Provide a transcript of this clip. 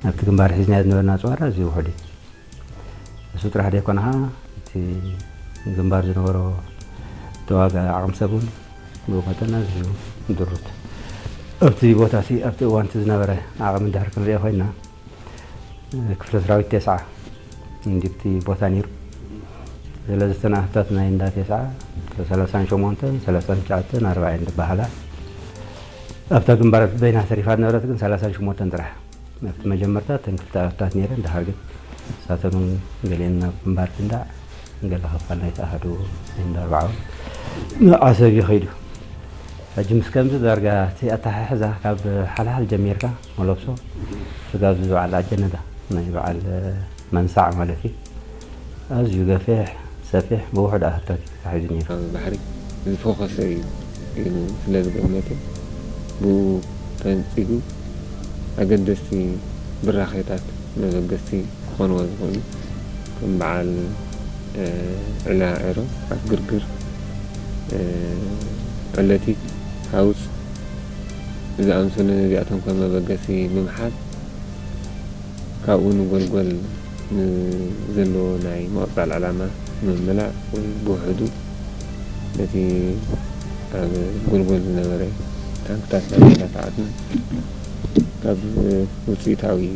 ኣብቲ ግንባር ሒዝናዮ ዝነበርና ኣፅዋር ኣዝዩ ውሑድ እዩ። እሱ ጥራሕ ዘይኮነ ኸዓ እቲ ግንባር ዝነበሮ ተዋጋኢ ዓቕሚ ሰብ እውን ብኡ መጠን ኣዝዩ ድሩት። ኣብቲ ቦታ እቲ ኣብቲ እዋን እቲ ዝነበረ ዓቕሚ እንድሕር ክንሪኦ ኮይና ክፍለ ሰራዊት ተስዓ እንዲቲ ቦታ ነይሩ። ስለዚ እተን ኣሃታት ናይ እንዳ ተስዓ ሰላሳን ሸሞንተን ሰላሳን ትሽዓተን ኣርባዕን ዝበሃላ ኣብታ ግንባር በይና ተሪፋ ዝነበረት ግን ሰላሳን ሸሞንተን ጥራሕ። ኣብቲ መጀመርታ እተን ክልተ ኣሃታት ነይረን፣ ድሓር ግን ንሳተን እውን ገሊአን ናብ ግንባር ድንዳዕ፣ ገለ ክፋል ናይቲ ኣሃዱ ናይ እንዳ ኣርባዓ እውን ንዓሰብ እዩ ከይዱ። ሕጂ ምስ ከምዚ ዳርጋ እቲ ኣተሓሕዛ ካብ ሓልሓል ጀሚርካ መለብሶ ስጋብ ዝበዓል ኣጀነዳ ናይ በዓል መንሳዕ ማለት እዩ። ኣዝዩ ገፊሕ፣ ሰፊሕ፣ ብውሑድ ኣሃታት እዩ ተታሒዙ ነይሩ። ኣብ ባሕሪ ዝፎኸሰ እዩ ኢሉ ስለ ዝገመተ፣ ብኡ ተንጺጉ ኣገደስቲ ብራኼታት መበገስቲ ክኾንዎ ዝኽእሉ፣ ከም በዓል፣ እ፣ ዕላ ዕሮ፣ ኣፍ ግርግር፣ እ፣ ዕለቲት፣ ሃውፅ ዝኣምሰሉ ነዚኣቶም ከም መበገሲ ብምሓዝ፣ ካብኡ ንጎልጎል ንዘለዎ ናይ ምቕጻል ዕላማ ንምምላእ ወይ ብውሕዱ ነቲ ኣብ ጎልጎል ዝነበረ ታንክታት ናይ ሰዓትና ካብ ውፅኢታዊ